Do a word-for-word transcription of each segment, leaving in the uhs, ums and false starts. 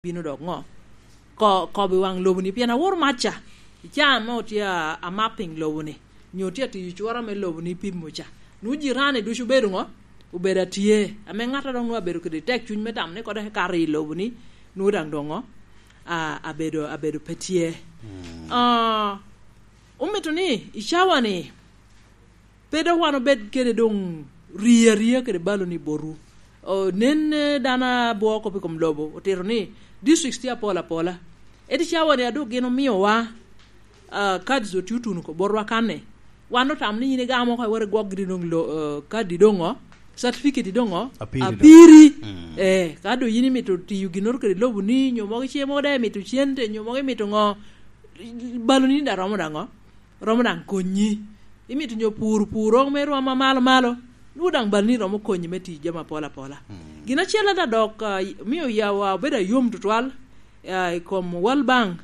bino dok ŋo? Ko-, kobo i waŋ lobo-ni, pien aworo mac ca. I caa ame otye a, a mapping lobo-ni, nyo otye atiyo cwora me lobo-ni pimo ca. Nwoŋo jirani ducu obedo ŋo? Obedo atye. Ame ŋat a dok nwoŋo abedo kede tek cuny me tamo ni kode kato i lobo-ni, nwoŋo daŋ doŋ ŋo? A, abedo, abedo pe tye. Mm. Ah, omito ni i cawa-ni, pe dok wan obed kede doŋ rie aria kede balo-ni botwu. O, nen, eh, dano abwoo kop i kom lobo, otito ni districts tye apol apola. Ento cawa-ni a doŋ gin omiowa, ah, cards otye otuno oko botwa kanni. Wan otamo ni in igamo oko iwot igwok giri doŋ lo-, eh, kadi doŋ ŋo, certificate doŋ ŋo, Apiri doŋ. Apiri. Mm. Eh, ka doŋ in imito tiyo ginnoro kede lobo-ni, nyo mogo ice mogo daŋ imito cente, nyo mogo imito ŋo, balo-ni daŋ romo daŋ ŋo? Romo daŋ konyi. Imito nyo pur, pur romo me rwom amalo malo, nwoŋo daŋ bal-ni romo konyi me tic jami apol apola. Mm. Gin acel ata dok, ah, mio yawa obedo ayom tutwal, ah, i kom World Bank,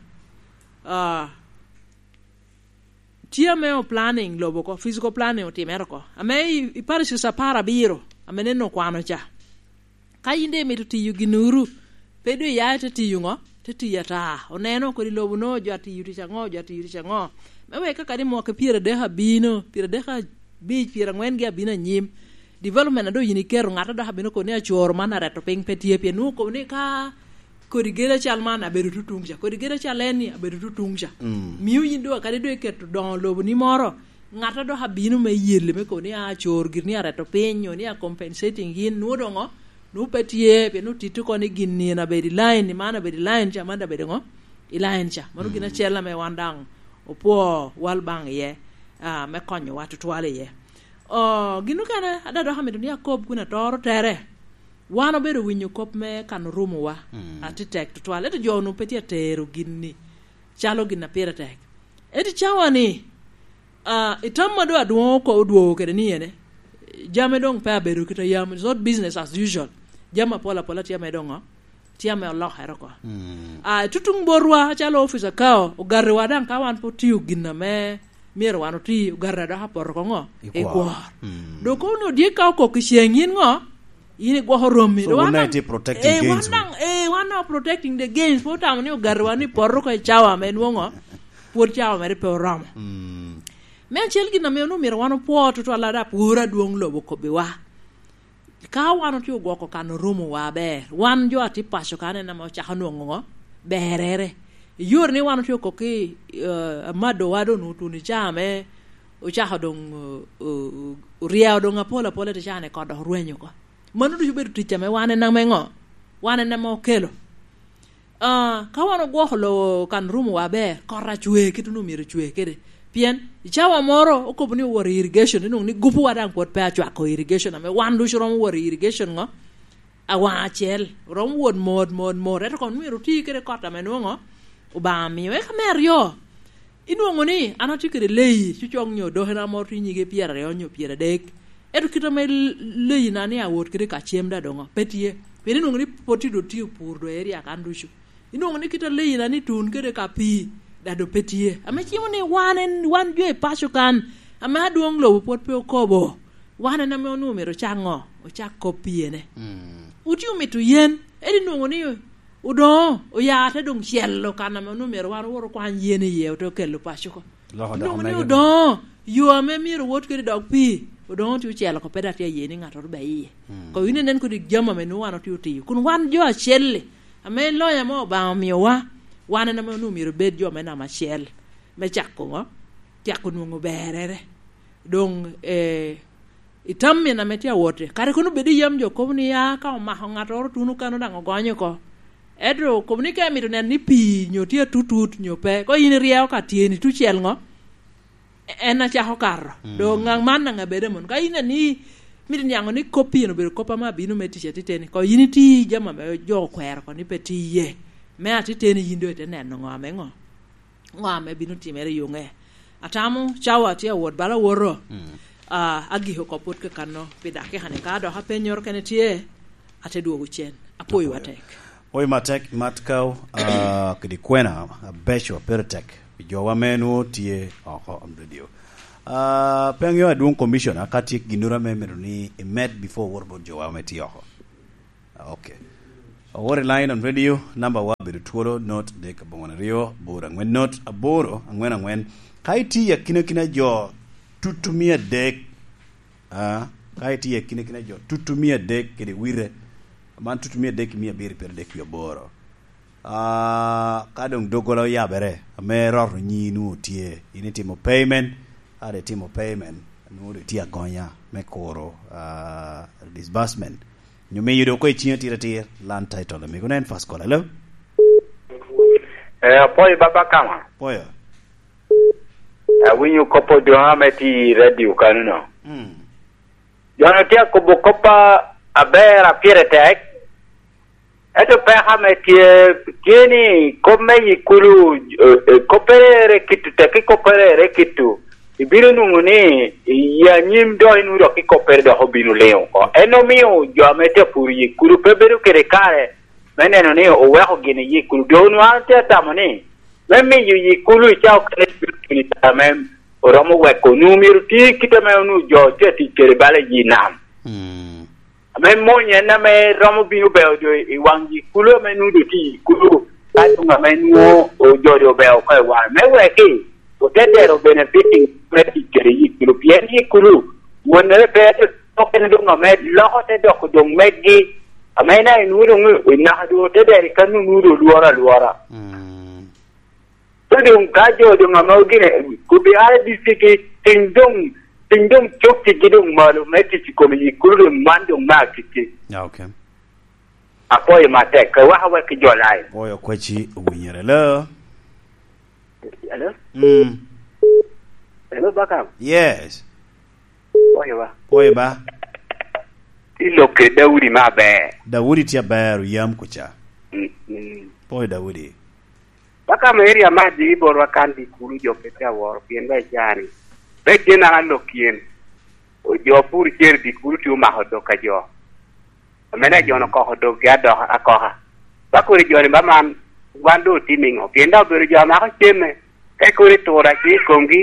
ah, tye ame o planning lobo oko, physical planning otimere oko. Ame i, i parishes apar abiro, ame neno okwano ca. Ka yin daŋ imito tiyo ginnoro, pe doŋ iya ite tiyo ŋo? Te tiyo ata. Oneno kodi lobo-no, jo atiyo tic aŋo, jo atiyo tic aŋo. Me wek ka kadi mwaka pyeradek abino, pyeradek abic, pyerangwen gi abino anyim, development a doŋ yin iketo, ŋat a dok abino kobo ni acoro man areto piny pe tye, pien nwoŋo okobo ni ka kodi gedo acal man abedo tutuŋ ca, kodi gedo acal en-ni abedo tutuŋ ca. Mm. Mio yin doŋ kadi doŋ iketo doŋo lobo-ni moro, ŋat a dok abino me yelle me kobo ni a cor giri ni areto piny, nyo ni a compensating yin, nwoŋo doŋo, nwoŋo pe tye, pien nwoŋo titto oko ni gin ni en abedo i line, ni man abedo i line ca, man abedo ŋo? I line ca. Mano gin Mm. acel ame wan daŋ opwoo World Bank iye, ah, me konyowa tutwal iye. Oh, gin okene, ada dok amito ni akob kun atoro tere. Wan obedo winyo kop me kano rumowa, Mm. ati tek tutwal. Ento jo onwoŋo pe tye atero gin ni. Calo gin a pire tek. Ento i cawa-ni, ah, i tam ma doŋ adwoŋo oko odwogo kede ni ene, jami doŋ pe abedo kit a yam, it's not business as usual. Jami apol apola tye ame doŋ ŋo? Tye ame olokere oko. Mm. Ah, i tutuŋ botwa, calo office akao, ogatiwa daŋ ka wan pe otio gin ame myero wan oti, ogatiwa dok apoto oko ŋo? I I kwor. kwor. Mm. Dok kono ni odyek ka okok i ceŋ, yin ŋo? In igwoko romi. So, Dok wan wun daŋ itye protecting eh, wan gains wu. daŋ, eh, wan daŋ protecting the gains. Pe otamo ni ogatiwa ni poto oko i cawa ame nwoŋo, pwod cawa mere pe oromo. Mm. Me acel gin ame onwoŋo myero wan opwo tutwal ada pwor adwoŋ lobo kobbiwa. Ka wan otye ogwoko kano rumowa aber, wan jo a tye paco kan en ame ocako nwoŋo ŋo? Berere. I yore ni wan otye oko ki, eh, amadowa doŋ otuno i caa ame ocako doŋ, o-, o-, oryeo doŋ apol apola i caa ni kot dok orweny oko. Mano ducu obedo tic ame wan en ame ŋo? Wan en ame okelo. Ah, ka wan ogwoko lowo kan rumowa aber, kot acwe kit onwoŋo myero ocwe kede. Pien i cawa moro okobo ni owot i irrigation, inwoŋo ni gupuwa daŋ pwod pe acwako irrigation, ame wan ducu romo wot i irrigation ŋo? Awaŋ acel, romo wot mot, mot, mot. Ento kono myero oti kede kot ame nwoŋo Obaŋa omio. Eka me aryo, inwoŋo ni an atye kede leyi, cucok nyo dokena moro tye nyige pyeraryo nyo pyeradek. Ento kit ame l-, leyi na ni awot kede ka cem da doŋo, pe tye. Pien inwoŋo ni pwod tye doŋ tye opur doŋ area kan ducu. Inwoŋo ni kit a leyi na ni tun kede ka pii, da doŋ pe tye. Ame cimo ni wan en, wan jo i paco kan, ame adwoŋ lobo pwod pe okobo, wan en ame onwoŋo myero ocak ŋo? Ocak kop pyene. Mm. Otye omito yen, ento inwoŋo ni odoŋo, oya te doŋ celo kan ame onwoŋo myero wan owot okwany yen iye, ote okelo paco oko. Loko dok Inwoŋo ni mege. odoŋo, yo ame myero owot kede dog pii, odoŋo tye ocelo oko, pe dok tye aye ni ŋattoro be iye. Mm. Kono in inen kodi jami ame nwoŋo wan otye otiyo. Kun wan jo acel-li, ame loyo ame Obaŋa omiowa, wan en ame onwoŋo myero obed jo me namba acel, me cako ŋo? Cako nwoŋo berere. Doŋ, eh, i tam min ame tye awotte. Kare kono bed i yam jo kobo ni, "Ah, ka omako ŋattoro tuno kano daŋ ogonyo oko." Ento kobo ni ka imito neno ni pii nyo tye atutut nyo pe, ko in iryeo ka tyeni tucel ŋo? En acako kato. Mm. Doŋ ŋaŋ man daŋ abed amon. Ka in ani mito niaŋo ni kop pien obedo kop ame abino me tic atiteni, ko in iti jami ame jo okwero ko ni pe ti iye. Me atiteni yin doŋ ite neno ŋo ame ŋo? Ŋo ame bino timere i yo ŋe? Atamo cawa tye awot bala awoto. Mm. Ah, agiko oko pwod kakano pi dakika ni. Ka dok apenyoro kene tye, ate dwogo cen. Apwoyo atek. Oyo matek, Mat Kaw, ah, kede kwena abeco, pire tek. Pi jowa me nwo tye oko on radio. Ah, pe aŋeo adwoŋ commissioner, ka tye ginnoro ame mito ni imed before wor bot jowa me tye oko. Ah, okay. Owor i line on radio, namba wa bedo twolo, not adek aboŋo aryo, aboro aŋwen not, aboro aŋwen aŋwen. Ka itye i akinakina jo tutu mia adek, ah, ka itye i akinakina jo tutu mia adek kede wite, man tutu mia adek ki mia abiro i pyeradek wie aboro. Ah, ka doŋ doggola oyabere, ame roto nyi nwoŋo tye, in itimo payment, ka doŋ itimo payment, nwoŋo doŋ itye agonya me kuro, ah, disbursement. Nyo miyo doŋ oko i ciŋ atir atir, land title amigo. Nen first call. Hello? Eh, apwoyo Baba Kama. Pwoyo. Awinyo kop odoŋ ame tye i radio kanino. Mm. Jo-nu tye akobo kop a-, aber a pire tek, ento peko ame tye, tye ni kop me yi kulu, eh, eh, koppere ere kitu tek, ki koppere ere kitu. Ibino nwoŋo ni i anyim dok inwoŋo dok ki koppere dok obino liŋo oko. En omio jo ame tye apuro yi kulu pe bedo kede kare me neno ni oweko gin i yi kulu. Doŋ onwoŋo an tye atamo ni me miyo yi kulu i cawa okene bino tuno i kare ame oromo weko. Onwoŋo myero oti kit ame onwoŋo jo tye atic kede bala i yi nam. Mm. Ame mony en ame romo bino beo jo i waŋ yi kulu ame nwoŋo doŋ tye i yi kulu, ka doŋ ame nwoŋo ojodo obeo oko i waŋe. Me weki, ote dero benefiting me tic kede yi kulu, pien yi kulu, wonnere pe, okene doŋ ame loko te doko doŋ meggi, ame en aye nwoŋo doŋ i naka doŋ ote dero i kan nwoŋo doŋ lworo alwora. Mm. Ka doŋ ka jo doŋ ame ogine, kobbi ara dicigi, piny doŋ, piny doŋ cok tiggi doŋ malo me tic i kom yi kulu doŋ man doŋ me agikki. Ah, okay. Apwoyo matek, ka waka wek ki jo lai. Pwoyo kweci owinyere. Hello? Hello? Mm. Hello, Bakam? Yes. Pwoyo ba. Pwoyo ba. Ilok kede Daudi me aber. Daudi tye aber, oyam kuca. Mm, mm. Pwoyo Daudi. Bakam area me Adii botwa kan di kulu jo pe tye aworo, pien ba icani. Pe gin an alok yen. O jo pur cer di kulu tye omako dog ka jo. Amene jo-nu okoko doggi adoka, akoka. Ba kodi jo-ni ba man, wan doŋ otimo iŋo? Pien daŋ obedo jo a mako cene, ka kodi tura tye i komgi,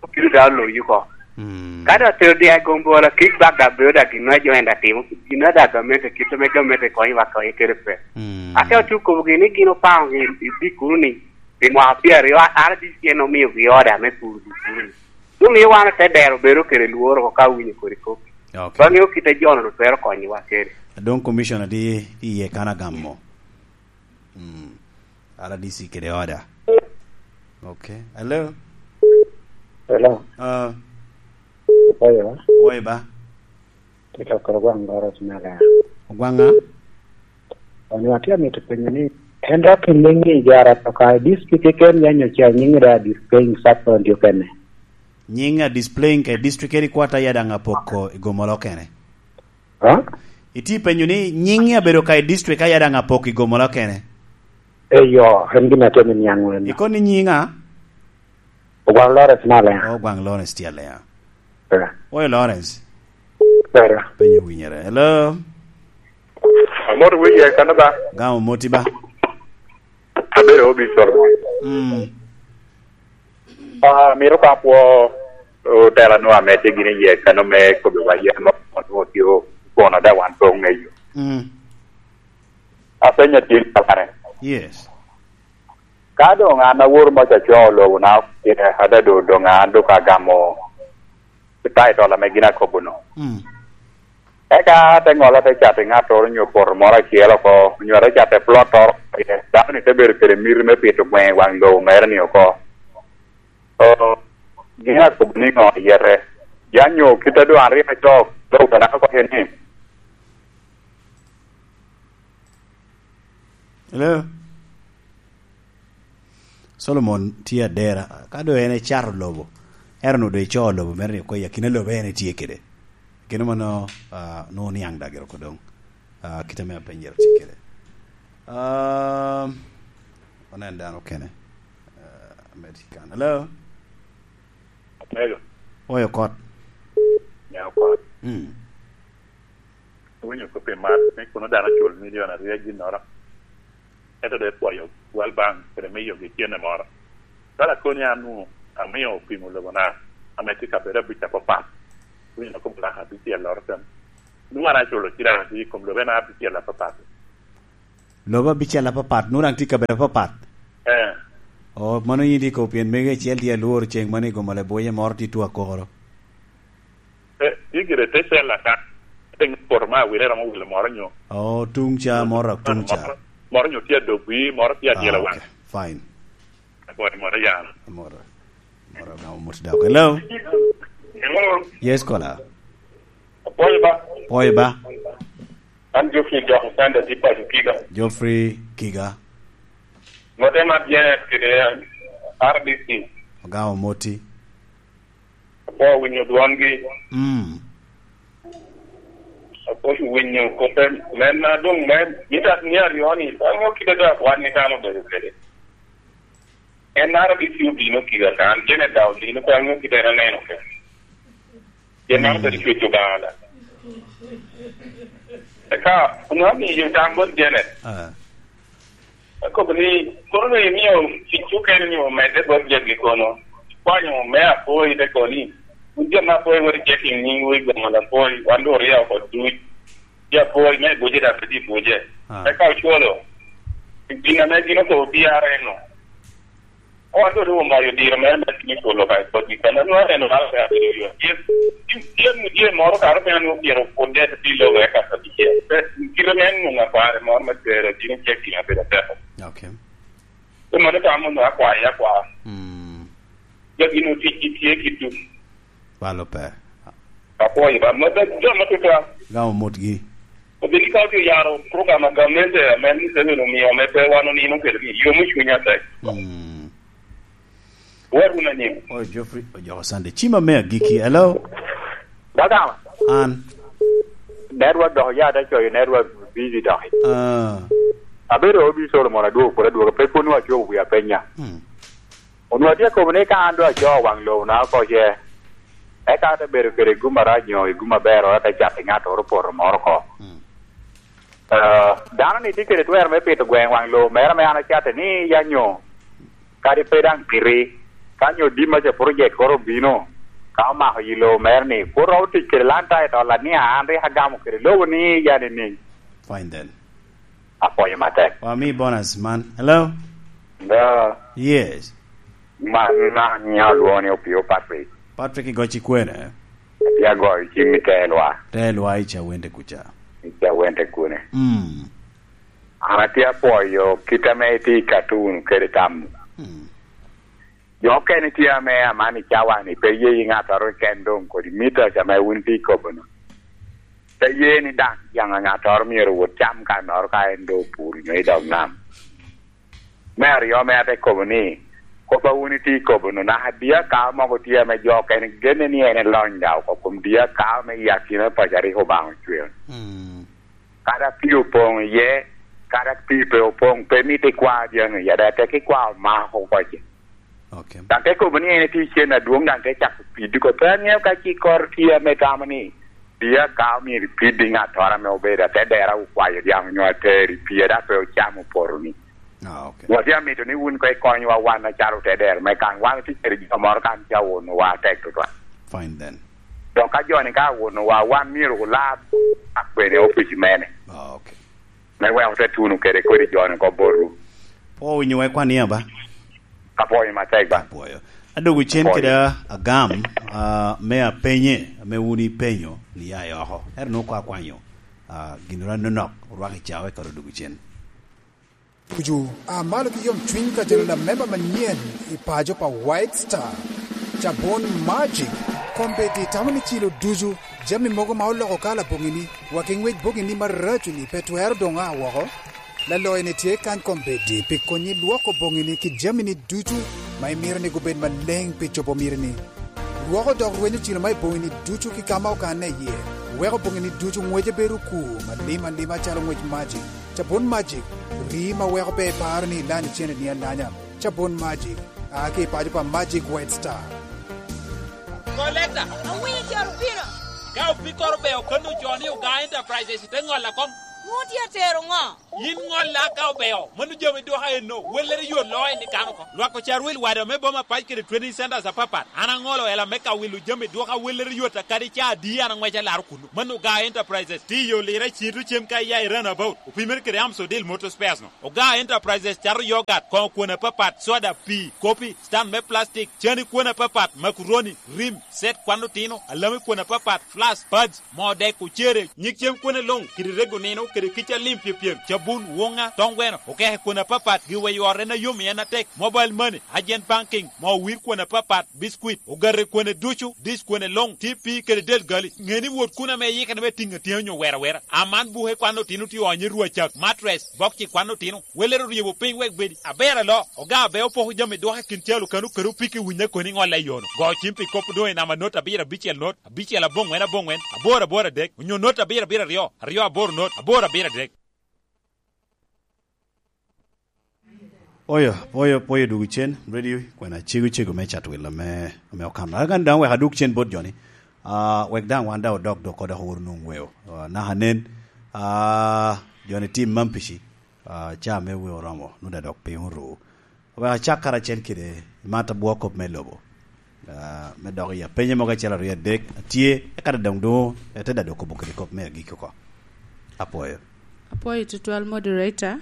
obino daŋ oloyi oko. Mm. Ka daŋ otero dya i gombola, kik bak daŋ bedo daŋ gin a jo en daŋ timo, gin a daŋ gamente, kit ame gamente konyo wa konye kede pe. Mm. Ate otye okobogi ni gin opaŋogi i, i Bikuru ni, pi mwaka pyeraryo, a-, R D C en omiogi oda me puro Bikuru ni. Doŋ miyo wan ote dero bedo kede lworo oko ka owinyo kodi kop. Okay. Pe waŋeo kit a jo-nu twero konyowa kede. Doŋ commissioner tye iye kan agamo. Mm. R D C kede oda. Okay. Hello? Hello. Ah. Oyo. Oyo ba? Tye ka koro gwaŋ Lawrence Malaya. Ogwaŋ ŋa? Onyo atye amito penyo ni, en dok i nyiŋ i jara to ka i district keken ya nyo ca nyiŋ i da displaying sub county okene? Nyiŋ a displaying ka i district kede kwata ya daŋ apoko i Gomolo kene. Ha? Itye penyo ni nyiŋ abedo ka i district ka ya daŋ apoko i Gomolo kene? Eyo, en gin atye ni niaŋ wene. Ikono ni nyiŋ a? Ogwaŋ Lawrence Malaya. Ogwaŋ Lawrence tye Alea. Eh. Oyo Lawrence. Pera. Penyo winyere. Hello? Amot wiye kano ba? Gamo moti ba? Abedo obi Solomon. Mm. Ah, mito ka pwo otela nu ame tye gini iye kano me kobi wa yen mo mo tye kono da wan po ngeyo. Mm. Apenyo tye kalare. Yes. Ka doŋ an awor maca acwao lobo na, adaŋ doŋ an doŋ agamo title ame gin akobo no. Mm. Eka te ŋolo te cato i ŋattoro onyo poto moro acel oko, onyo te cato i plot oro, dano ni te bedo kede miti me pito gweŋ i waŋ lobo mere ni oko. O, gin akobo ni ŋo iyete? Ya nyo kit a doŋ an rik acoo lobo na oko ni. Hello? Solomon tye adera, ka doŋ en ecato lobo, ento onwoŋo doŋ ecoo lobo mere ni oko i akina lobo en etye kede. Kene mano, ah, nwoŋo niaŋ dagi oko doŋ. Ah, kite me apenyere tye kede. Ah, onen dano kene. Ah, med kan. Hello? Hello. Oyo kot. Neo kot. Mm. Owinyo kop i mat ni kono dano ocul milion aryo i ginnoro, ento dok epwoyo World Bank kede miyogi cene moro. Ka lakoni an nu amio opimo lobona ame tye kabedo abic apapat, owinyo kop lak abicel loro tem. Nu an aculo cilang adi i kom lobena abicel apapat? Lobo abicel apapat, nwoŋo daŋ tye i kabedo apapat. Eh. Oh, mano yin tye kop pien mego acel tye alworo ceng mano i Gomala Boye moro tye tuwa koro. Eh, tye gire te cel ata. Piny poto ma awile romo wilo moro nyo. Oh, tung ca, moro dok tung ca. Moro, moro nyo tye adogwi, moro tye adyela waŋ. Ah, okay. Fine. Apwoyo, moro yan. Moro. Moro na omot dako. Hello? Hello? Yes, caller. Apwoyo ba? Pwoyo ba? An Geoffrey Dok Sande, tye paco Kiga. Geoffrey Kiga. Mote ma Janet kede R D C. Ogamo moti. Apwoyo winyo dwongi. Mm. Apwoyo winyo kote, men na doŋ me, mito ni aryo ni, aŋo kite do akwan ni kan obedo kede. En R D C obino kika kan, Janet daŋ obino, pe aŋo kite en aneno kede. Pien man obedo cwec Obaŋa da. Eka, onwoŋo amiyo tam bot Janet. Ah. Akobo ni, kono ni imio tic okene ni omedde bot jegi kono. Ikwanyo me apoi te koni. Wun jami apoi wot icek i nyiŋ wi Gomala apoi, wan doŋ orya oko duc. Tye apoi me buje dok pe tye buje. Ah. Eka ocwalo. Gin ame gin okobo B R N-o. Wan doŋ omayo diro mere me timo polo ka i kodi, kan anwoŋo aneno bala pe abedo yo. Tye, tye, tye, tye moro kare pe anwoŋo pyero pwod dek pi lobo eka abicel. Pe, kite me nwoŋo akware moro me tero, gin oce gin abedo ateko. Okay. Pe mano tamo nwoŋo akwaye akwa. Mm. Ja gin otic tye ki duk. Balo pe. Apwoyo ba, ma pe jami atutwal. Gamo motgi. Obedi ka otye oyaro program a gamente ame Museveni omio me pe wan onino kede ni yom i cwiny atek. Mm. Wot wun anyim. Oh, Geoffrey Ojoko Sunday. Cima me agiki. Hello? Dagama. An. Network dok ya te coyo network busy dok. Ah. Abedo Obi Solomon adwogo pwod adwoga, pe pwod nwa cobo wi apenya. Mm. Onwoŋo atye akobo ni ka an doŋ acoo waŋ lobo na oko ce, eka ate bedo kede gum arac nyo i gum aber, ate cato i ŋattoro poto moro oko. Mm. Eh, dano-ni tye kede twero me pito gweŋ waŋ lobo mere ame an acatte ni ya nyo, kadi pe daŋ piti, ka nyo dimma ca project koro obino, ka omako yi lobo mere ni, pwod romo tic kede land title ni an rik agamo kede lobo ni ya nining? Fine then. Apwoyo matek. Wami bonus man. Hello? Hello? Yes. Man, man nyo lwongo ni Opio Patrick. Patrick, igoc i kwene? Atye agoyo cim i Telwa. Telwa i Cawende kuca. I Cawende kune. Mm. An atye apwoyo kit ame itye i cartoon kede tamo. Mm. Jo okene tye ame aman i cawa-ni pe ye i ŋattoro keken doŋ kodi mito ca ame wun itye ikobo-nu. Pe ye ni daŋ jaŋ ŋattoro myero owot cam kannoro ka en doŋ opuro nyo i dog nam. Me aryo ame ate kobo ni, kop a wun itye ikobo-nu, naka dye akawa mogo tye ame jo okene genne ni en elony daŋ oko kom dye akawa me i akina paco a rik Obaŋa ocweo. Mm. Kadi pii opoŋ iye, kadi pii pe opoŋ, pe mito ikwa dyaŋi iye, dok tek ikwa omako oko ce. Okay. Daŋ te kobo ni en etye cen adwoŋ, daŋ te cako piddi oko. Pe aŋeo ka ci kor tye ame tamo ni, dye akawa myero ipiddi ŋattoro ame obedo ate dera okwayo dyaŋ onyo ateri pii, dok pe ocamo poto-ni. Ah, okay. Watye amito ni wun koŋ ikonywa wan acalo te dero me kan. Wan otye kede jo moro kan ca owonowa atek tutwal. Fine then. Dok ka jo-ni ka owonowa, wan myero olab akwene opic mene. Ah, okay. Me wek ote tuno kede kodi jo-ni oko botwu. Pwo winyo wek kwan iya ba? Apwoyo matek ba. Apwoyo. Adwogo cen kede agam, ah, me apenye, ame wun ipenyo, ni ya i oko. Ero nwoŋo kwa kwanyo, ah, gin ora nonok, orwak i cawa, eka odwogo cen. Ducu, a malo ki yomcwiny ka jalo lamemba manyen i paco pa White Star. Cabon Magic, kombeddi tamo ni cilo ducu, jami mogo ma oloko kala boŋini, wa ki ŋwec boŋini maraco-ni pe twero doŋ a woko. Laloyo-ni tye kany kombeddi pi konyi lwoko boŋini ki jamini ducu ma imito ni gubed maleŋ pi cobo mitini. Lwoko dok rwenyo cilo ma i boŋini ducu ki ka ma okanne iye, weko boŋini ducu ŋwece bedo okur malim alima calo ŋwec Magic. Cabun Magic, rii ma weko pe iparo ni ilanyo cene ni alanya. Cabun Magic, a ki i paco pa Magic White Star. Koleta! Awinyo caro pira. Ka opikkoro be okono jo ni Oga Enterprises, te ŋolla kom. Ŋo tye atero ŋo? Yin ŋolla ka obeo, mano jami dwoka enno, wellere yo loo en i kan oko. Lwak ocar wil wada me boma pac kede training centers apapat. An aŋolo ela me ka wilo jami dwoka wellere yot a kadi ca adi an aŋweco alaro kuno. Mano Ogaa Enterprises, tye i yo lira i Cito cem ka iya i Runabout, opimere kede Amsodil Motor Spares no. Ogaa Enterprises cato yogat, koŋo kwon apapat, soda, pii, kopi, stand me plastic, cani kwon apapat, makuroni, rim, set kwan otino, alami kwon apapat, flask, pads, moo dek, ocere, nyig cem kwene luŋ, kede rego nino, kede kica lim pyepyem, cabun, wuŋa, toŋ gweno, okeke kwene apapat, giwa i ot en a yom i en atek, mobile money, agent banking, moo wir kwene apapat, biscuit, ogate kwene ducu, dish kwene luŋ, T P kede del gali. Ŋe ni wot kun ame iyikere me tiŋ atyeni onyo wera wera. Aman buke kwan otino tye onyo i rwacak, mattress, bokci kwan otino, welere oryebo piny wek bedi aber alo, oga abe opoko jami dwoke kin calo kano kede opiki winyo koni ŋolle i yono. Go cim pi kop doŋ i namba not abiro abicel not, abicel aboŋwen aboŋwen, aboro aboro adek, onyo not abiro abiro aryo, aryo aboro not, aboro abiro adek. Oyo, oyo, oyo dwogo cen, ready, kwena cego cego me cat wil ame, ame okano. Agan daŋ wek adwog cen bot joni. Ah, wek daŋ wan daŋ odok dok kodok owor nwoŋ weo. Ah, naka nen, ah, joni tim man pici, ah, ca me weo oromo, nwoŋo daŋ dok piny oru. Wek acak karacel kede Martha Bwokop me lobo. Ah, me dok i apenye mogo acel aryo adek atye, eka daŋ doŋ ete daŋ dok kobo kede kop me agikki oko. Apwoyo. Apwoyo tutwal, moderator.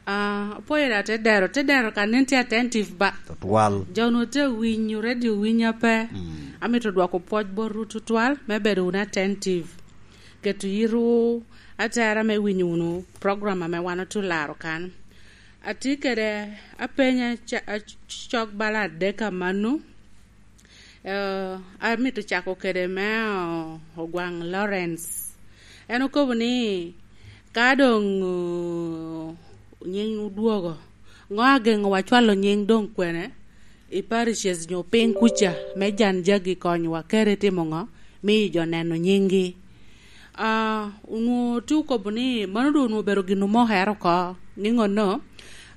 Ah, apwoyo da te dero, te dero ka nen tye attentive ba. Tutwal. Jo onwoŋo tye awinyo radio winyo pe. Mm. Amito dwoko pwoc botwu tutwal me bedo wunu attentive. Keto yitwu atera me winyo wunu program ame wan otye olaro kan. Atye kede apenya ca-, a-, cok bala adek amanno. Eh, amito cako kede me o-, Ogwaŋ Lawrence. En okobo ni, ka doŋ, o, nying odwogo, ŋo ageŋowa cwalo nying doŋ kwene i parishes nyo piny kuca me jan jagi konyowa kede timo ŋo? Miyo jo neno nyinggi. Ah, onwoŋo tye okobo ni mano doŋ onwoŋo obedo gin omokere oko, ni ŋonno,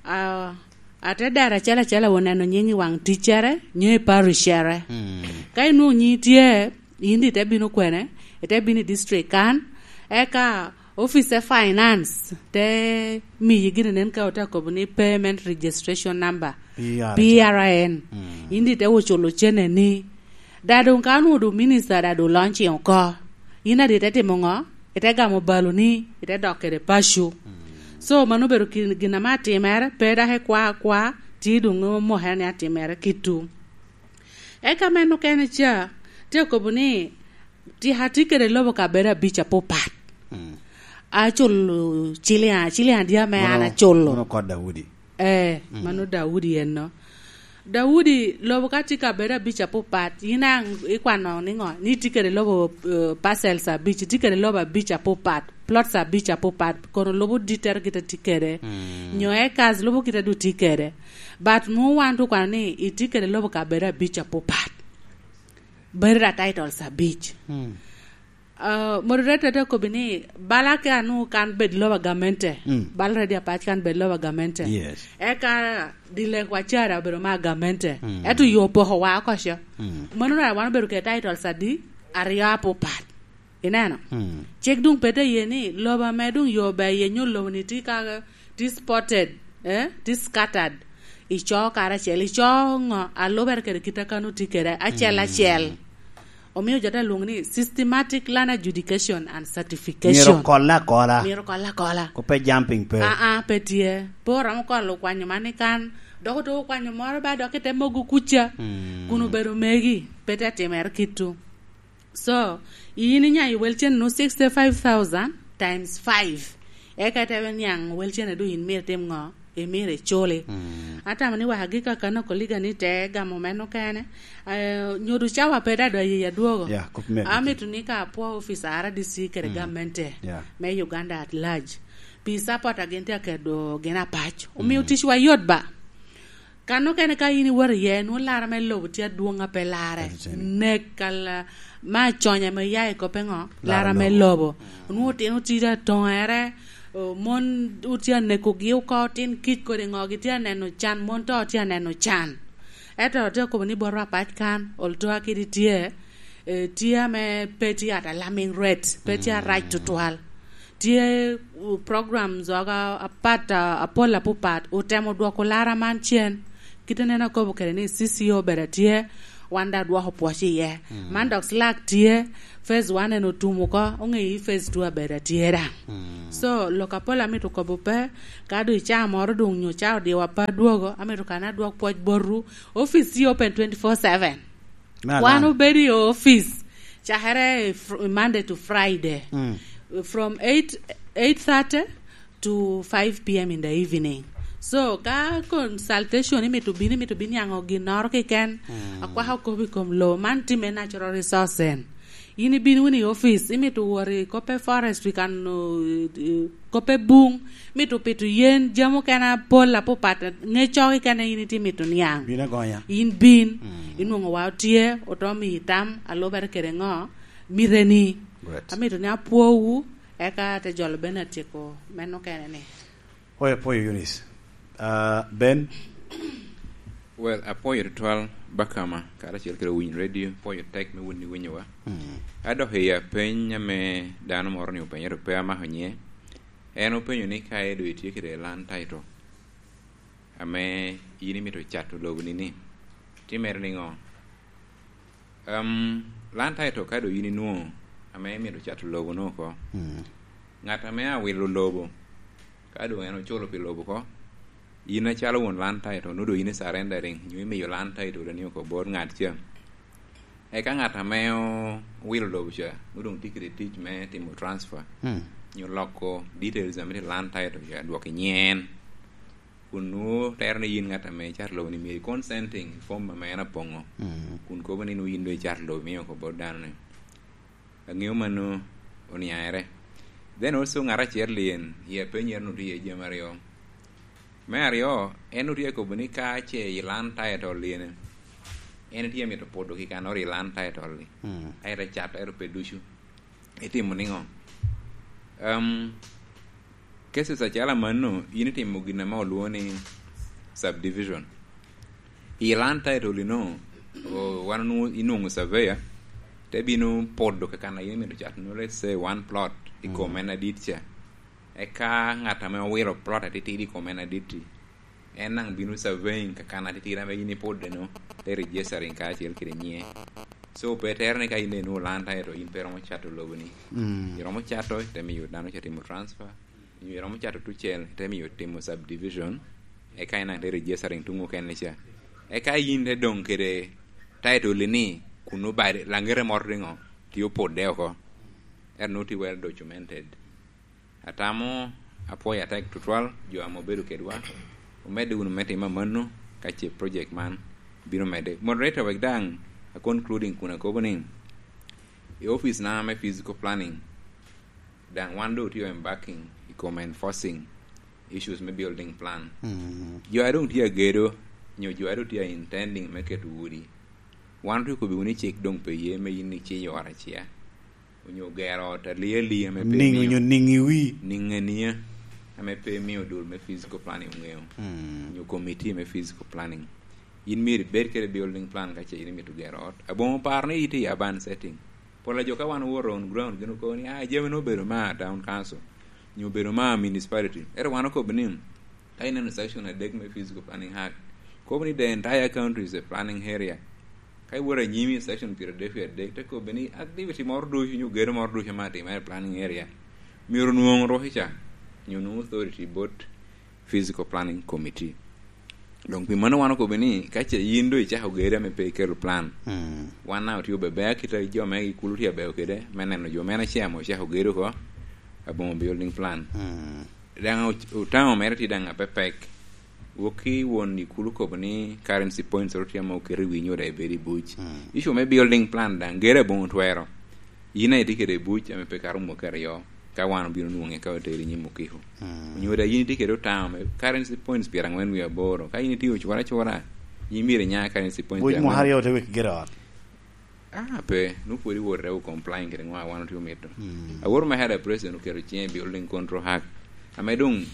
ah, ate dero acel acel awo neno nying i waŋ ticcere, nyo i parishcere. Mm. Ka inwoŋo nyingi tye, in daŋ ite bino kwene, ite bino i district kan, eka office finance te miyi gin nen ka ote akobo ni payment registration number, P R N. P R N. Mm. In daŋ ite wo culo cene ni. Da doŋ ka onwoŋo doŋ minista da doŋ launching oko, in adi ite timo ŋo? Ite gamo baloni, ite dok kede paco. Mm. So, mano obedo kin-, gin ame atimere, pe dok ikwa akwa, tye doŋ omokere ni atimere kitwu. Eka meno kene ca, tye akobo ni, tika atye kede lobo kabedo abic apapat. Mm. Aculo ciliŋ, ciliŋ adi ame an aculo. Mano, mano kot Daudi. Eh, mm, mano Daudi enno. Daudi, lobo ka tye kabedo abic apapat, yin daŋ ikwano niŋo? Ni itye kede lobo, eh, parcels abic, itye kede lobo abic apapat, plots abic apapat, kono lobo dittere kite tye kede. Mm. Nyo acres lobo kite du tye kede. But nwoŋo wan tu kwano ni itye kede lobo kabedo abic apapat. Bedo da titles abic. Mm. Ah, moderator te kobbi ni, bala ka nu kan bed lobo agamente, mm, bala ready apac kan bed lobo agamente. Yes. Eka dilek wa cara obedo ma agamente. Mm. Ento yo poko wa oko co. Mm. Mano ra wan obedo kede titles adi? Aryo apapat. Ineno? Mm. Cik doŋ pe te ye ni lobo ame doŋ yo ber iye nyo lobo ni tye ka tye spotted, eh, tye scattered. Ico karacel, ico ŋo? Alubere kede kit a kan otye kede, acel, mm, acel. Omio jo te lwoŋo ni systematic land adjudication and certification. Myero okole akola. Myero okole akola. Ko pe jumping pe. Ah, ah, pe tye. Pe oromo kolo kwanyo man i kan, dok otuko kwanyo moro ba dok ite mogo kuca. Mm. Kun obedo megi, pe te timere kitwu. So, in inyayo wel cen nu sixty-five thousand times five. Eka ite niaŋ wel cen du in myero itim ŋo? Imyero iculi. Mm. Atamo ni wek agik akana koliga ni te gamo meno kene. Eh, nyodo cawa pe da dwaye ya dwogo. Yeah, kop me agik. Amito ni ka apwo office R D C kede, mm, gamente, yeah, me Uganda at large. Pi support a gin tye akedo gin apac. Omio, mm, ticwa yot ba. Kan okene ka in iwoto iye, nwoŋo lara me lobo tye adwoŋ a pe larre. Nek kal-, ma aconya me ya i kop eŋo? Lara me lobo. Lara me lobo. Mm. Nwoŋo otino tye atoŋere, o, mon otye anekogi oko, otin kic kodi ŋo, gitye aneno can, mon to tye aneno can. Ento atye akobo ni botwa apac kan, although kadi tye, eh, tye ame pe tye at a alarming rate, pe tye arac tutwal. Tye, uh, programs oga apat, uh, apol apupat otemo dwoko lara man cen. Kite nen akobo kede ni C C O bene tye, wan da dwoko pwoc iye. Mm. Man dok slack tye, phase one en otum oko, onge i phase two abeda tye da. Mm. So, lok apol amito kobo pe, ka do i caa moro dong nyo caa odiwa pe adwogo, amito kan adwok pwoc botwu. Office tye open twenty-four seven. Me Wan alan. Obedo i office, cakere fr-, Monday to Friday. Mm. From eight, eight thirty to five P M in the evening. So, ka consultation imito bino, imito bino niaŋo ginnoro keken, mm, akwako kop i kom lo, man timme natural resource en. In ibino wunu i office, imito wot i koppe forestry kan, uh, uh, koppe bung, imito pito yen, jami okene apol apupat, ŋe cok ikene in itye mito niaŋ. Bin agonya. In bin, mm, inwoŋo wa otye, oto miyi tam, alubere kede ŋo, mite ni. Great. Amito ni apwowu, eka te jolo bene atyeko meno kene ni. Oyo, apwoyo Eunice. Ah, Ben? Well, apwoyo tutwal Bakama, karacel kede Winy Radio, apwoyo tek me wun iwinyowa. Mm. Adok i apeny ame dano moro ni openyo, to pe amako nye. En openyo ni ka edo itye kede land title ame in imito cato lobo ni ni, timere niŋo? Em, land title ka do in inwoŋo ame imito cato lobo no oko. Mm. Ŋat ame awilo lobo, ka doŋ en oculo pi lobo oko, in acalo won land title, nwoŋo doŋ in i surrendering, nyo imiyo land title ni oko bot ŋat ca. Eka ŋat ame o-, owilo lobo ca, nwoŋo doŋ tye kede tic me timo transfer, mm, nyo loko details ame tye i land title ca, dwoko i nyen. Kun nwoŋo tero ni yin ŋat ame icato lobo ni myero i consenting i form ame en apoŋo. Mm. Kun kobo ni nwoŋo yin doŋ icato lobo imiyo oko bot dano ni. Aŋeo mano oniaere. Then also ŋat acel lyen, i apenyere nwoŋo tye iye jami aryo. Me aryo, en nwoŋo tye akobo ni ka ce i land title lyene, en tye amito podo kikannoro i land title-li. Mm. Aye te cat, ento pe ducu. Itimo niŋo? Em, cases acalo amanno, in itimo gin ame olwoŋo ni subdivision. I land title ino, o, wan onwoŋo, inwoŋo surveyor, te bino podo kakan a in imito cat, no, let's say, one plot i kom, mm, en adit ca. Eka ŋat ame owilo plot atitidi i kom en adit-ti, en daŋ bino surveying kakan atitidi ame in ipodde-no, te registering kacel kede nyiŋe. So, pe tere ni ka in daŋ inwoŋo land title, in pe iromo cato lobo-ni. Mm. Iromo cato, ite miyo dano ca timo transfer. Nyo iromo cato tucel, ite miyo timo subdivision, eka en daŋ te registering tuŋ okene ca. Eka yin te doŋ kede title ni, kun obade, laŋete moro riŋo, tye opodde oko. Ento nwoŋo tye well documented. Atamo apwoyo atek tutwal jo ame obedo kedwa. Omedde wunu me timo amanno ka ce project man bino medde. Moderator, wek daŋ a concluding kun akobo ni, i office na me physical planning, daŋ wan doŋ otye embarking i kom enforcing issues me building plan. Mm. Jo a doŋ tye agedo, nyo jo a doŋ tye a intending me keto udi, wan otye okobi wunu ni cik doŋ pe ye me yin iciyo ot aciya, onyo gero ot alia alia me pe niŋ, imio, onyo niŋ i wi, niŋ ania, ame pe imio dul me physical planning oŋeo, mm, onyo committee me physical planning. In myero ibed kede building plan ka ce in imito gero ot. Aboŋo paro ni itye i urban setting. Pol a jo ka wan owoto on ground, gin okobo ni, "Ah, jami-nu obedo ma town council, nyo obedo ma municipality." Ento wan okobo ni, ka ineno section adek me Physical Planning Act, kobo ni the entire country is a planning area. Ka iwoto anyim i section pyeradek wie adek, te kobbe ni activity moro ducu nyo gedo moro ducu ame atimere i planning area, myero onwoŋo rukica, nyo onwoŋo authority bot Physical Planning Committee. Doŋ pi mano wan okobbe ni, ka ce yin doŋ icako gedo ame pe ikelo plan, mm, wan daŋ otye obebe akita jo me i kulu tye abeo kede, me neno jo mene ce ame ocako gedo oko, aboŋo building plan. Mm. Daŋ o-, otamo mere tye daŋ apepek. Wok ki won i kulu kobo ni currency points oro tye ame oketo i wi nyo daŋ ibedo i buc. Mm. Issue me building plan daŋ, gero aboŋo twero. In aye tye kede i buc ame pe kato mwaki aryo, ka wan obino nwoŋe ka oteri i nyim okiko. Mm. Onyo daŋ in itye kede otamo me currency points pyerangwen wie aboro. Ka in itye ocwara acwara, in myero inya currency points buc pyerangwen. Mwaka aryo te wek gero ot. Ah, pe, nwoŋo pwod iwot te complying kede ŋo a wan otye omito. Mm. Awor me head president oketo ciŋe i building control act. Ame doŋ,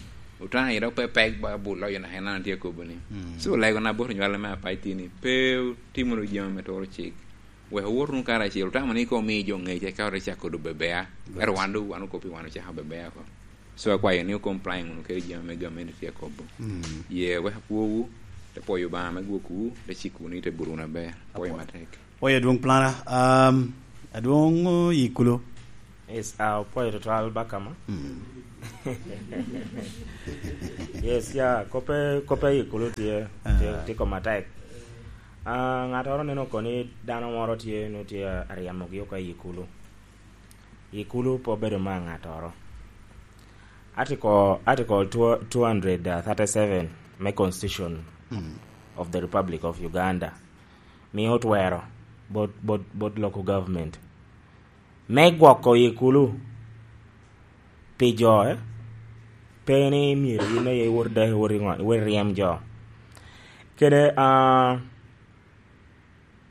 otana i dok pe pek ba bul loyo na en an tye akobo ni. Mm. So, lego na bot onywale me apac tye ni, pe otimo wunu jami me turo cik. Wek owot wunu karacel, otamo ni ka omi jo ngec, eka ote cako dobo bebea. Ero wan doŋ, wan okop i wan ocako bebea oko. So, akwayo ni o-complying wunu kede jami ame gamente tye akobo. Mm. Ye, wek apwowu, te pwoyo Obaŋa me gwokwu, te cik wunu i te buto wunu aber. Pwoyo matek. Pwoyo adwoŋ Plana, um, adwoŋ, uh, Ikulu. Yes, uh, opwoyo tutwal Bakama. Mm. Yes, ya, kope, kope Ikulu tye, tye, ah, tye koma tek. Ah, ŋattoro neno oko ni dano moro tye, nwoŋo tye aryemogi oko i Ikulu. Ikulu pe obedo me ŋattoro. Article, Article two, two hundred thirty-seven me Constitution, mm, of the Republic of Uganda mio twero bot, bot, bot local government me gwoko Ikulu pi jo, eh, pe ni myero in aye iwot dok iwot i ŋo-, iwot i ryem jo. Kede, ah,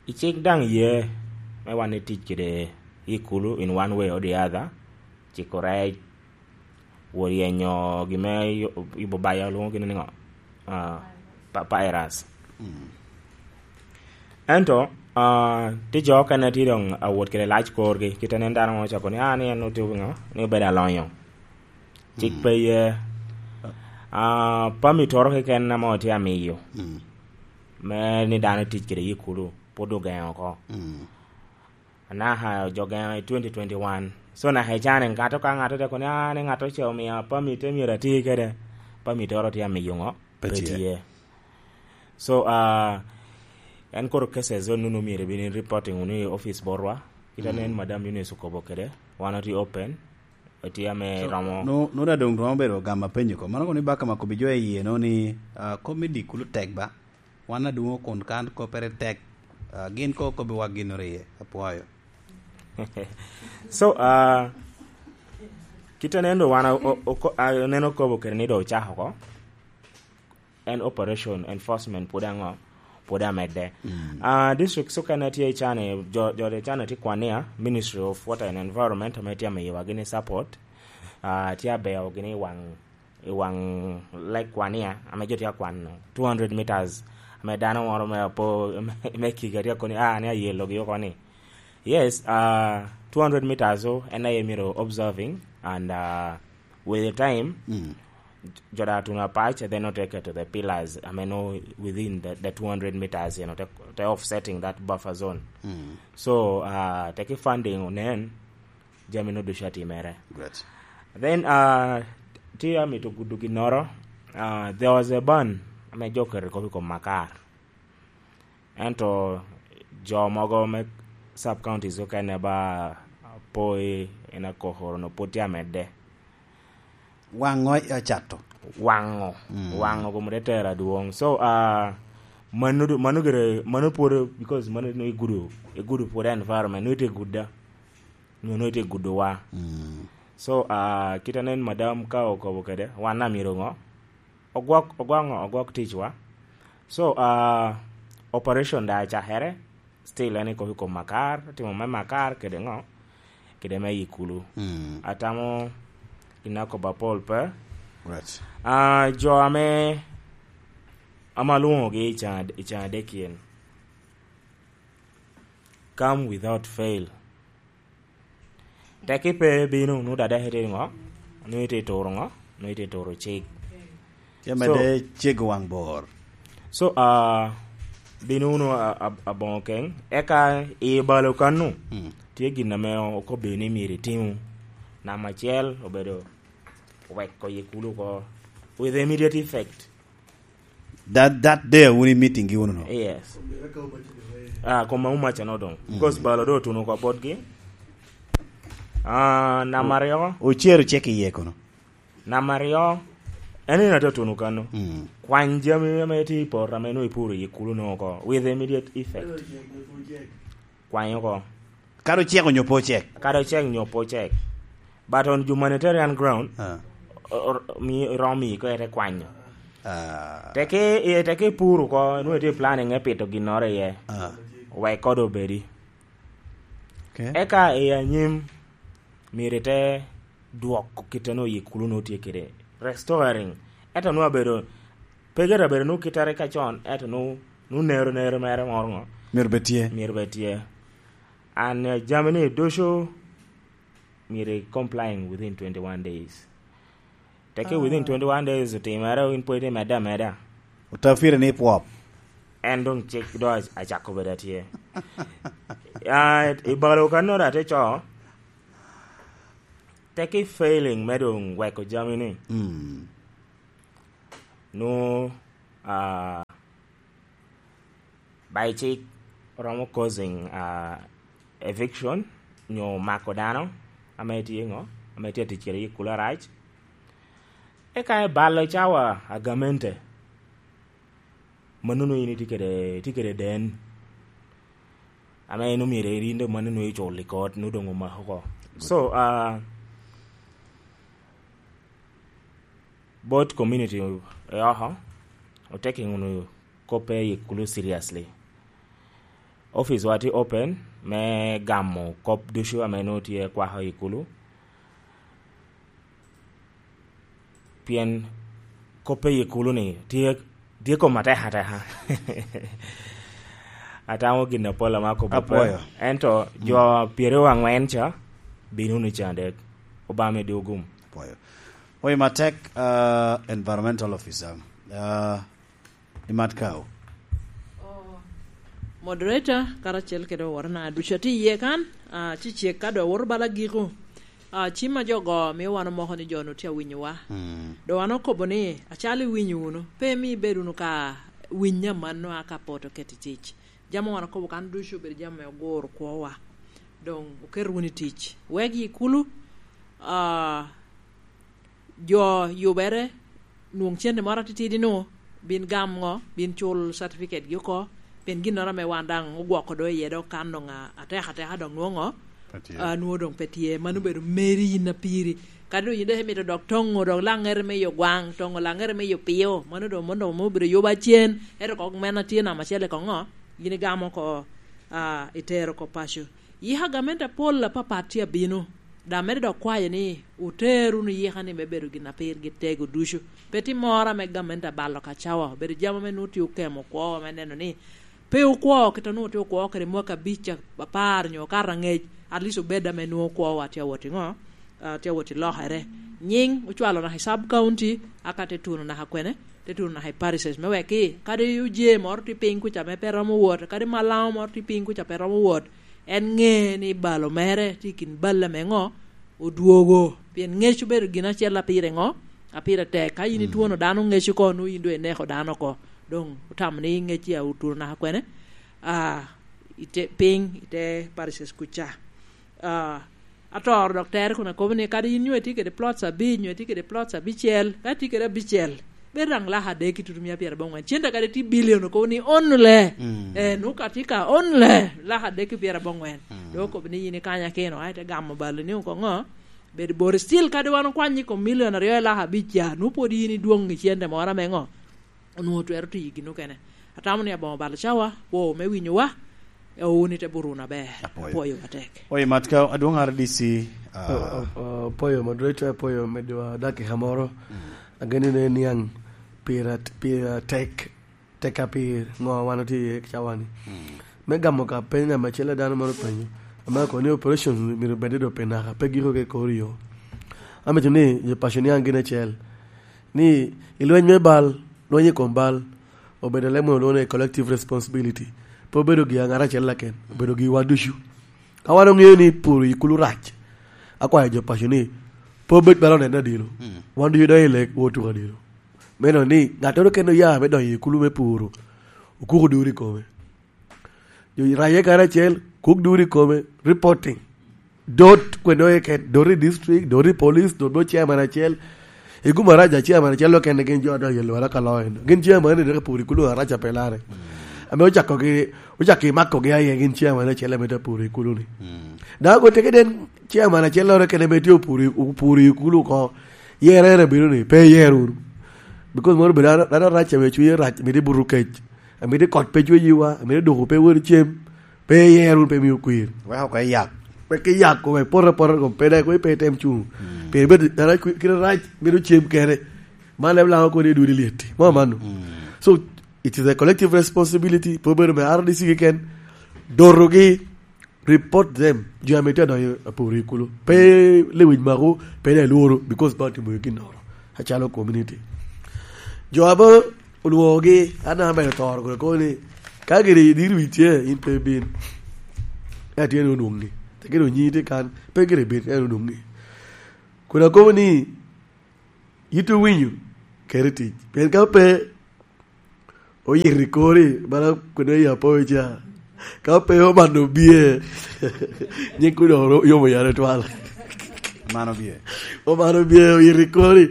i cik daŋ ye me wan itic kede Ikulu in one way or the other, ciko rec, wot yenyo gin me yubo baya, olwoŋo gini niŋo? Ah, pa-, papyrus. Mm. Ento, ah, tye jo okene tye doŋ awot kede lac korgi, kite nen dano mo ocako ni, "Ah, ni en otye ŋo? Ni obedo alonyo." Cik, mm, pe ye. Ah, permit oro keken ame otye amiyo, mm, me ni dano tic kede Ikulu, pwod ogeŋo oko. Mm. Anaka jo geno i twenty twenty-one. So, naka i can, ŋato ka ŋato te kono ni, "Ah, ni ŋato ce omio permit, te myero ati kede." Permit oro tye amiyo ŋo? Pe tye. Pe tye. So, ah, en koro cases onunu myero ibin reporting wunu i office botwa. Kit ane, mm, en Madam Eunice okobo kede, wan otye open, otye ame, so, romo. No, no da doŋ twero bedo gamo apenyo ko. Mano kono ni Bakama kobbi jo i yie, no, ni, ah, kop me diko Ikulu tek ba? Wan adwoŋ kun kan koppere tek, ah, gin ko kobbiwa ginnoro iye. Apwoyo. So, ah, kit aneno wan o-, o-, oko-, ah, aneno okobo kede ni doŋ ocako oko. En operation enforcement pwod aŋo? Pwod amedde. Mm. Ah, districts okene tye i can, jo, jo tye i can tye Kwania, Ministry of Water and Environment, ame tye amiyowa gini support. Ah, tye abeyo gini i waŋ i waŋ Lake Kwania, ame jo tye akwano two hundred meters, ame dano moro me apo, me, me Kiga tye akoni, "Ah, ni ayelogi oko ni." Yes, ah, two hundred meters o, en aye myero observing, and, ah, with the time, mm, jo da tuno apac, then ote keto the pillars, ame no within the, the two hundred meters, you know, te, te offsetting that buffer zone. Mm. So, ah, teki funding onen, jami no ducu atimere. Great. Then, uh, tye amito gudo ginnoro. Uh, there was a ban ame jo oketo kop i kom Makar. Ento jo mogo me sub counties okene ba poi en akokoro no pwod tye amedde. Waŋo i acato. Waŋo. Mm. Waŋo kom te tero adwoŋ. So, uh, mano du-, mano gire, mano pwod, because mano no igudo, igudo pwod environment, no ite gudda. Nyo no ite gudowa. Mm. So, uh, kit anen madam ka okobo kede, wan amiro ŋo? Ogwok, ogwok ŋo? Ogwok ticwa. So, uh, operation da acakere, still en i kop i kom Makar, timo me Makar kede ŋo? Kede me Ikulu. Mm. Atamo gin akobo apol pe. Right. Ah, jo ame, ame alwoŋogi i can ad-, i can adek-kien, come without fail. Tek ipe bino, nu dada hete ŋo? Nu ite turo ŋo? Nu ite turo cik. Tye mede cego waŋ bor. So, ah, bino wunu a-, a-, aboŋo keŋ. Eka i balo kanu, mm, tye gin ame okobbi ni myero itimu. Namba acel obedo weko Ikulu oko with immediate effect. That, that day wun i meeting gi wunu no? Yes. Ah, kom ma umaca no doŋ. Mm. Because balo do otuno oko botgi. Ah, namba aryo. Ocero cek iye kono? Namba aryo, en ina te tuno kano. Mm. Kwany jami ame tye i poto ame nwoŋo ipuro i Ikulu no oko with immediate effect. Kwany oko. Kadi ocek onyo pe ocek? Kadi ocek onyo pe ocek. But on humanitarian ground, ah, o-, o-, mi-, romo miyi ko ete kwanyo. Ah. Teke, e, teke ipuro oko, nwoŋo itye planning me pito ginnoro iye. Ah. Wek kode obedi. Okay. Eka i anyim, myero ite dwoko kit a nwoŋo Ikulu nwoŋo tye kede. Restoring. Ento nwoŋo abedo, pe gire abedo nwoŋo kit a rik acon, ento nwoŋo, nwoŋo nero, nero mere moro ŋo? Myero bed tye. Myero bed tye. And, uh, jami ni ducu myero i complying within twenty-one days. Teke within twenty-one days otimere, in pwod imedde ameda. Otafire ni pwop. En dong cik do ac-, acako bedo atye. Ah, i balo kanoro ate co, teke failing me dong weko jami ni. Mm. Nu, ah, by cik romo causing, ah, eviction, nyo mako dano ame tye ŋo, ame tye atic kede i kulo arac. Eka i balo cawa agamente, mannono in itye kede, itye kede den, ame en omyero irin dong mannono icul i kot, nwoŋo dong omako oko. So, ah, both community i oko, oteking wunu koppe i kulu seriously. Office wa tye open me gamo kop ducu ame nwoŋo tye kwako i kulu. Pien koppe i kulu ni tye, tye kom atek ateka. Atamo gin apol ame akobo pe. Apwoyo. Ento jo pyeraryo angwen ca bino wunu i candek. Obama medo gum. Apwoyo. Oyo matek, ah, environmental officer. Ah, imat kao. Oh, moderator, karacel kede oworona ducu atye iye kan, ah, ci cek ka dong awoto bala giko. Ah, cim a jo go mio wan omoko ni jo-nu tye awinyowa. Mm. Dong wan okobo ni, acalo iwinyo wunu, pe imi ibed wunu ka winyo amanno a ka pot oket i tic. Jami wan okobo kan ducu obedo jami ame oguro kwowa. Dong oket wunu i tic. Wek i kulu, ah, jo yubere, nwoŋ cente moro atitidi nu, bin gam ŋo, bin cul certificate gi oko, pien ginnoro ame wan daŋ ogwoko do iye dok kan doŋ a-, atek ateka doŋ nwoŋo, ah, nwoŋo doŋ pe tye. Mano obedo meri yin apiri. Kadi doŋ yin dok imito dok toŋo dok laŋere me yo gwaŋ, toŋo laŋere me yo pio, mano doŋ, mano doŋ obedo yuba cen, ento kok men atye namba acel i koŋo, yin igamo oko, ah, itero oko paco. Yika gamente apol apapat tye abino, daŋ medo dok kwayo ni oter wunu yika ni me bedo gin a pirgi tego ducu. Pe tye moro ame gamente abalo ka cawa, obedo jami ame nwoŋo tye okemo kwowa me neno ni pe okwo kit a nwoŋo tye okwo kede mwaka abic, apar nyo okato angec, at least obed ame nwoŋo kwowa tye awot i ŋo? Ah, tye awot i lokere. Nyiŋ ocwalo naka i sub county, aka te tuno naka kwene, te tuno naka i parishes, me wek ki, kadi oje moro tye piny kuca ame pe romo wot, kadi malaŋo moro tye piny kuca pe romo wot, en ŋe ni balo mere tye i kin balle ame ŋo? Odwogo. Pien ŋec obedo gin acel a pire ŋo? A pire tek. Ka in itwono dano ŋec oko, nwoŋo in doŋ ineko dano oko. Doŋ otamo ni ŋec ya otuno naka kwene? Ah, ite, piny, ite parishes kuca. Ah, atoro dok tere kun akobo ni, kadi in nyo itye kede plots abic, nyo itye kede plots abicel, ka itye kede abicel, bedo daŋ laka adek i tutu mia pyerabongwen. Cente kadi tye billion, okobo ni only. Mm. Eh, nwoŋo ka tye ka only, laka adek i pyerabongwen. Mm. Dok okobo ni yin ikanya keno, ai, te gamo balo ni oko ŋo? Bedo bor still, kadi wan okwanyi kom million aryo i laka abic ca, nwoŋo pwod yin idwoŋ i cente moro ame ŋo? Onwoŋo twero tiyo gin okene. Atamo ni aboŋo balo cawa, kwo me winyowa, owuni te buruna ber. Apwoyo. Apwoyo atek. Oyo, mat ka adwoŋ R D C, ah. O-, o-, o-, apwoyo moderator, apwoyo medowa dakika moro. Mm. Ageni ne niaŋ pira, pira tek, tek ka pir ŋo wan otye iye cawa ni. Mm. Me gamo ka peny ame acel a dano moro penyo, ame kono ni operation myero bed i do pe naka, pe giko ke kor yo. Amito ni jo paco niaŋ gin acel. Ni i lweny me bal, lweny i kom bal, obedo leb mono lwongo ni collective responsibility. Pe obedo gi ŋat acel laken, obedo gi wan ducu. Ka wan oŋeo ni puro i kulu rac, akwayo jo paco ni, pe obed bala oneno adilo. Mm. Wan ducu donyo i lek, wot tuko adilo. Meno ni, ŋattoro kene oya me donyo i kulu me puro, okuko duri i kome. Jo raye kare acel, kuk duri i kome, reporting. Dot kwene oye ket, dot i district, dot i police, dot bo chairman acel. I guma raja chairman acel okene gin jo adonyo i lwara ka loyo. Gin chairman ni dok puro i kulu araca pe lare. Ame ocako gi, ocako i mako gi aye gin chairman acel ame te puro i kulu ni. Mm. Dago teke den chairman acel lore kene ame tye opuro i, opuro i kulu ko. Yere en abino ni, pe yer wunu. Because moro bedo dano, dano rac ame cwinye rac, mito buto kec. Amito kot pe cweyiwa, amito doko pe wot cem, pe iyer wunu, pe mio kwir. Wek oko iyak. Wek iyak, wek poto apota kom pe dek, wek pe item cuŋ. Mm. Pien bedo dano kwi-, kite rac, mito cem kene. Man leb laŋo kodi i dudi lyet. Mo mano. Mm. So, it is a collective responsibility, pe obedo me R D C keken. Dotogi, Report them. Jo ame tye adonyo aporo i kulu. Pe lewic mako, pe ne lworo, because ba timo ginnoro. Acalo community. Jo ame onwoŋogi, an ame toro kun akobo ni, ka gire idiro wicce, in pe ibin. Ka tye ni onwoŋi. Te gire onyi tye kan, pe gire ibin, ka en onwoŋi. Kun akobo ni, yito winyo, keri tic. Pien ka pe, oyito i kori, bala kun oya apoyo ca. Ka pe omano bie, nyiŋ kun oro-, yomo yare twal. Mano bie. Omano bie, oyito i kori.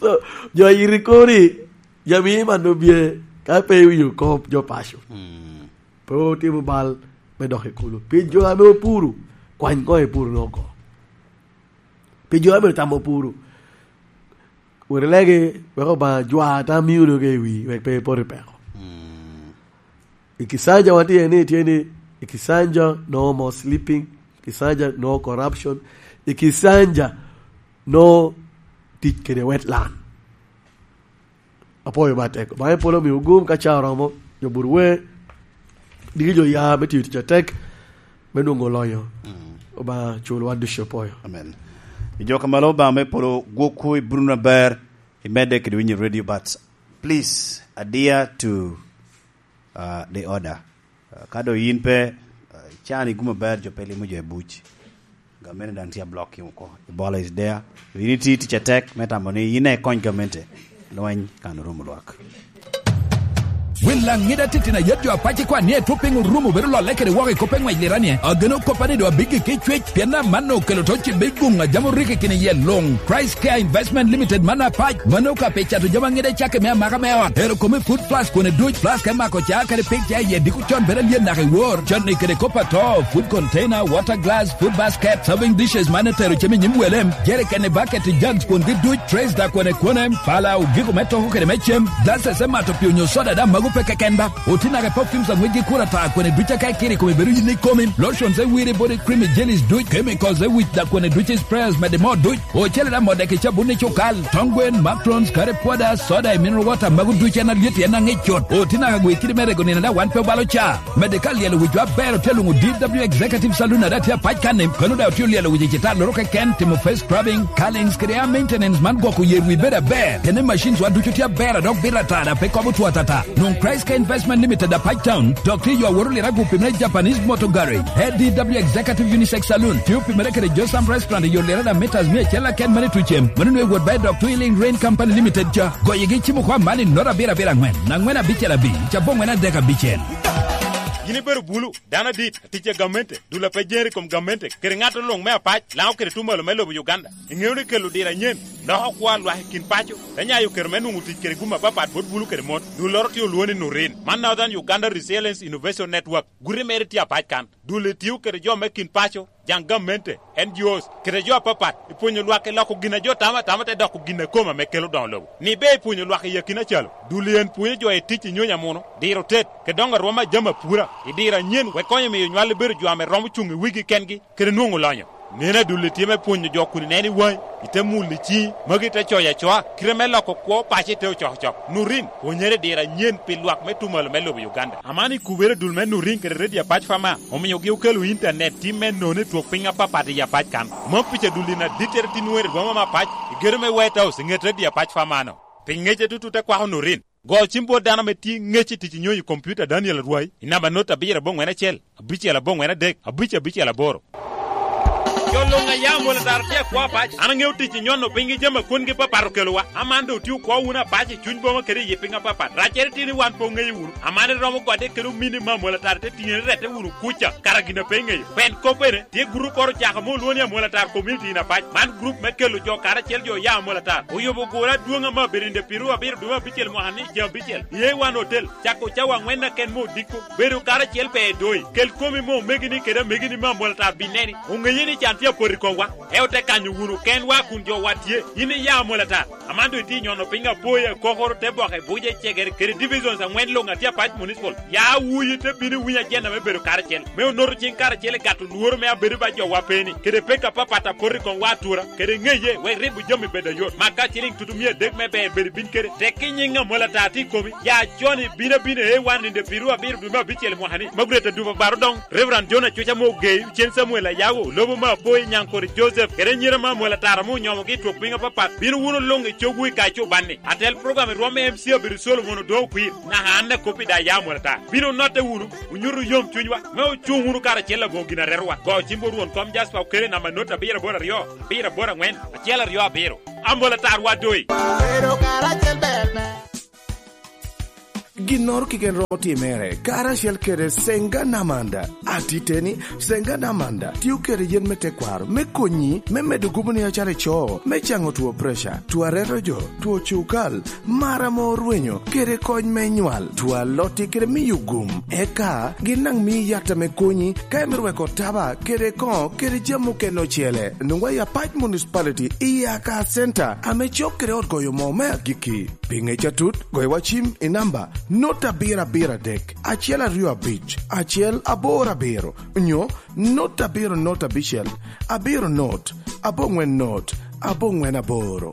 So, jo oyito i kori, jo ame imano bie, ka pe iwinyo kop, jo paco. Mm. Pe otimo bal me dok i kulu. Pi jo ame opuro, kwany koŋ ipuro ni oko. Pi jo ame otamo puro, wot ilege, wek Obaŋa jwa tam mio doge i wi, wek pe ipot i peko. Mm. I Kisanja watye ni, tye ni, i Kisanja no more sleeping, Kisanja no corruption, i Kisanja no tic kede wetland. Apwoyo ba tek. Obaŋa polo omio gum ka ca oromo, jo but wer, diki jo ya me tiyo tic atek, me nwoŋo lonyo. Mm. Obaŋa cul wan ducu apwoyo. Amen. I jo ka malo Obaŋa me polo gwokwu i Bruno aber, i medde kede winyo radio, but please adhere to, uh, the order. Uh, ka do yin pe, uh, can i gum aber, jo pe limo jo i buc. Gamente daŋ tye ablock oko. Ebola is there. Yin iti tic atek me tamo ni yin ikony gamente. Lweny kan orumo lwak. Wil Laŋida titino ayet jo apac ikwan ni etwop piny orumo bedo lolle kede woko i kop eŋwec liranie. Ageno koppa ni do abiggi ki cwec, pien amanno okelo to cibbe guŋ a jam oriki kine yel luŋ. Christ Care Investment Limited man apac, mano ka pe cato jami aŋida cake me amaka me ot. Ero kome food flask kone duc, flask me mako ca kede pig ca iye diko con bedo alyet naka i wor. Con ni kede kop ato, food container, water glass, food basket, serving dishes man etero cem i nyim wele, jerikene, bucket, jugs kwongi duc, trays da kwene kwene, pala, ogiko me toko kede me cem, glasses me mato pii onyo soda da mago pe keken ba. Oti naka i perfumes aŋwec gi kura ta kwene duc aka ikiri kome bedo yin ikomi, lotions e wiri body cream i jellies duc, chemicals e wic da kwene duc i sprayers mede mo duc. Ocele da modde ki cabun i cukal, tong gwen, macrons, curry powder, soda i mineral water, mago ducu en alyet en aŋic cut. Oti naka gwe kidi me rego nino da wan pe obalo ca. Mede ka lyelo wic jo aber otye luŋo D W Executive Saloon ada tye apac kanni, kano da otye olyelo wic i cita loro keken, timo face scrubbing, curlings kede hair maintenance man gwoko yer wi bedo aber. Tene machines wa ducu tye aber a dok bito ata da pe kobo two atata. Nwoŋ Christ Care Investment Limited apac town, dok tye yo aworo lira gupi me Japanese Motor Garage. A D W Executive Unisex Saloon, tye opimere kede Josam Restaurant i yo lira da meters mia acel aken mani tucem. Mano nwe wot ba i dok Twilling Rain Company Limited ca. Goyegi cimo kwa mani nota abiro abiro aŋwen, aŋwen abicel abic, cabong ŋwen adek abicel. Yin ibedo bulu, dano adit, atic a gamente, dul a pe jeri i kom gamente, kede ŋat luŋ me apac, Laŋo kede tumalo me lobo Uganda. Iŋeo ni kelo diro anyen, loko kwo a lwak i kin paco, te nyayo kero me nwoŋo tic kede gum apapat bot bulu kede mon. Dulloro tye olwoŋo ni Nurin, man Northern Uganda Resilience Innovation Network, guti mere tye apac kan. Dul-li tio kede jo me kin paco, jaŋ gamente, N G Os, kede jo apapat, i pwonyo lwak i loko gin a jo tamo atama te doko gin a kome ame kelo doŋo lobo. Ni ber i pwonyo lwak i akina calo, dul-li en pwonyo jo i tic i nyonyo amuno, diro tet, kede doŋo arwom a jami apura, i diro anyen, wek konyo miyo nywal i bedo jo ame romo cuŋ i wigi kengi, kede nwoŋo lonyo. Nen adul-li tye me pwonyo jo kun ineno i waŋi, ite mulo i ciŋi, magi te coyo acoa, kite me loko kwo paco ite ocokocok. Nurin, pwonyere i diro anyen pi lwak me tumalo me lobo Uganda. Aman i kubere dul me Nurin kede Radio Apac Fama, omiogi okelo intanet tim me nono i twok piny apapat i Apac kan. Mom pica dul-li na dittere tin weri rwoma me apac, i gedo me White House i ŋet Radio Apac Fama-no. Pi ŋece tutu te kwako Nurin. Go cim bot dano ame tye ŋec i tic i nyonyo i kompiuta Daniel Arwai i namba not abiro aboŋwen acel, abicel aboŋwen adek, abic abicel aboro. Jo luŋ a ya Amolo Tara tye akwo apac. An aŋeo tic i nyono piny gi jami a kwongi papat okelowa. Aman doŋ otio kwo wunu apac i cuny boma kede i yi piny apapat. Raccere tye ni wan pe oŋeyo wunu. Aman iromo gode kede omini me Amolo Tara te tiŋe ni rette wunu kuca, kara gin a pe iŋeyo. Pen kop bene, tye gurup oro ocako ame olwoŋo ni Amolo Tara Community in Apac. Man gurup me kelo jo karacel jo oya Amolo Tara. Oyubo gure adwoŋ ame abedo in the Piru abiro dwe me abicel mwaka ni ceng abicel. I A one Hotel, cako cawa aŋwen aken me odiko. Bedo karacel pe edoi. Kel komi me omegini kede amegini me Amolo Tara bineni. Oŋeye ni can tye apot i komwa, eo te kanyo wunu kenwa kun jowa tye. Yin iya Amol Atar, aman doŋ itye nyono piny Apoya, Kokoro, Teboke, Buja, Cegere kede divisions aŋwen luŋ a tye Apac Municipal. Ya wuyi te bino iwiny ajenda me bedo karacel, me onoto ciŋ karacel i gato lworo me abedo ba jowa peni, kede pek apapat a poto i komwa atura, kede ŋeye wek ribo jami bed ayot. Maka ciliŋ tutu mia adek me ber bedo ibin kede. Tek i nyiŋ Amol Atar tye i komi, ya con ibino abina A one in the Piru abiro dwe me abicel mwaka ni. Margaret Adupa Baro Doŋ, Reverend John Acuca ame ogeyi, Cen Samuel Ayago, Lobo me Apoyi, Nyaŋkore Joseph, kede anyira me Amol Atar ame onyomogi i twok piny apapat, bino wunu luŋ i cogwu i Kaco Banni. Atel program i rwom me M C Abiro Solomon Odoŋo Okwir, naka an a kop i da ya Amol Atar. Bino onotte wunu, onyuto yom cunywa, me ocuŋ wunu karacel aboŋo gin aretowa. Go cim bot Rwon Kom Jasper Okele namba not abiro aboro aryo, abiro aboro aŋwen, acel aryo abiro. Amol Atar wa doi. Bedo karacel ber me Ginnoro keken romo timere karacel kede Senga Namanda. Atiteni, Senga Namanda tio kede yen me tekwaro me konyi me medo gubo ni acalo ico, me caŋo two preca, two areto jo, two cukal, mar ame orwenyo, kede kony me nywal, two alotti kede miyo gum. Eka gin daŋ mii yat ame konyi ka imito weko taba kede koŋo kede jami okene ocele. Nwoŋwa i Apac Municipality i Aka Center ame cok kede ot goyo moo me agikki. Pi ŋec atut, goyo wa cim i namba not abiro abiro adek, acel aryo abic, acel aboro abiro, nyo not abiro not abicel, abiro not, aboŋwen not, aboŋwen aboro.